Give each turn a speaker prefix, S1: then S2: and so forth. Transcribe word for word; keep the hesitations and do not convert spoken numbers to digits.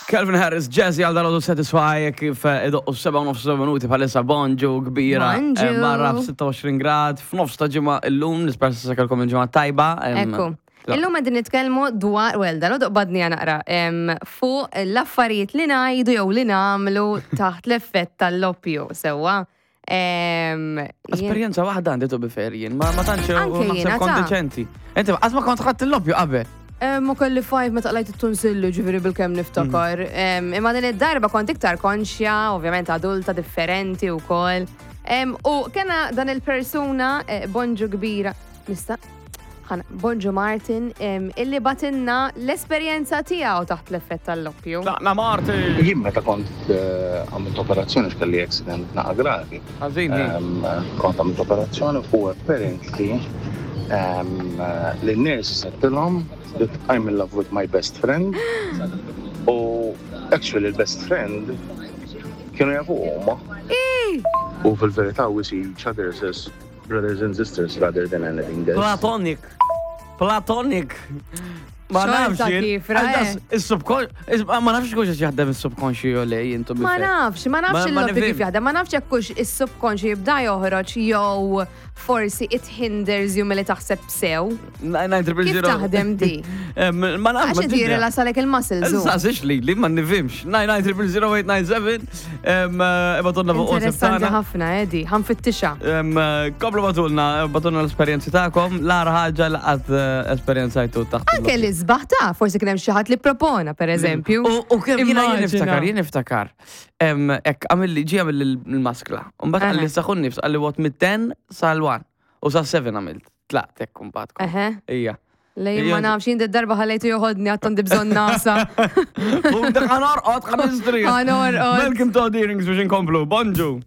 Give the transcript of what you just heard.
S1: Calvin Harris, Jazzy għal dal Satisfy, kif eh, idoqqu seba' u nofs minuti bħalissa. Bonġu kbira.
S2: Bonġu.
S1: Eh, Barra f'sitta u għoxrin grad, f'nofs ta' ġimgħa illum, nispera s-sakalkom il-ġimgħa tajba. em,
S2: Ekku.
S1: la-
S2: Illum qegħdin nitkellmu dwar, well, dal badni naqra, em, fuq l-affarijiet li ngħidu jew li nagħmlu taħt l-effett tal-loppju, sewwa. Em, jien-
S1: Esperjenza waħda għandi, to be fair jien, ma ma tantx
S2: Anke
S1: naħseb
S2: jiena,
S1: kont
S2: ta'
S1: deċenti. Inti qatt ma kont ħadd il-loppju qabel?
S2: Eh, Ma kelli five meta qlajt it-tonsilli, ġifieri bil-kemm niftakar. Em, Imma din id-darba kont iktar konxja, ovvjament adulta differenti u koll. U kena dan il-persuna, eh, bonġu kbira, nista' ħana, bonġu Martin, em, illi bagħtilna l-esperjenza tiegħu taħt l-effett tal-loppju.
S1: Tlaqna, Martin!
S3: Jien meta kont eh, għamilt operazzjoni, x'kelli accident naqa gravi.
S1: Ħażin di.
S3: Em, Kont għamilt operazzjoni u apparently em, li n-nurses għedtilhom that I'm in love with my best friend u actually l-best friend kienu jafu huma. U fil-verità we see each other as brothers and sisters rather than anything else.
S1: Platonic. Platonic. Ma
S2: Xorta
S1: nafx jien.
S2: kif, ra,
S1: Għal das, is-subcon- ma nafx kux jaħdem is-subconscious jew le jien, to be
S2: Ma
S1: fair.
S2: nafx, ma nafx
S1: Ma- ma
S2: il-loppju kif
S1: nifhimx.
S2: jaħdem, ma nafx jekk hux is-subconscious jibda joħroġ jew forsi it hinders you milli taħseb sew.
S1: Nine nine triple
S2: Kif
S1: zero.
S2: taħdem di?
S1: Em, Ma nafx.
S2: Għax inti jirrilassalek il-muscles. u.
S1: Saqsix li, li ma nifhimx. nine nine triple zero eight nine seven. Ibagħtulna fuq WhatsApp
S2: Interessanti
S1: tagħna.
S2: ħafna, Edi, ħa nfittixha.
S1: Em, eh, Komplu bagħtulna, bagħtulna l-esperjenzi tagħkom, l-agħar ħaġa li qatt eh, esperjenzajtu taħt.
S2: Anke li sbaħ ta' forsi kien hemm xi ħadd li propona, per eżempju.
S1: U u kemm jiena jien
S2: Immaġina.
S1: niftakar, jien niftakar. Em, Ek, għamilli, ġi għamilli l-maskla. Mbagħad qalli
S2: Aha.
S1: sa nifs, qalli what mid-ten sal-one. U sa seven għamilt. Tlaqt hekk mbagħad. kont.
S2: Eħe.
S1: Ija.
S2: Lej ma
S1: Ija.
S2: nafx, jien darba ħallejtu joħodni għax għandi bżonn nagħsa.
S1: U dak ħa norqod, ħa nistrieħ.
S2: Ħa norqod.
S1: Malcolm Todd, Earrings biex inkomplu. Bonġu.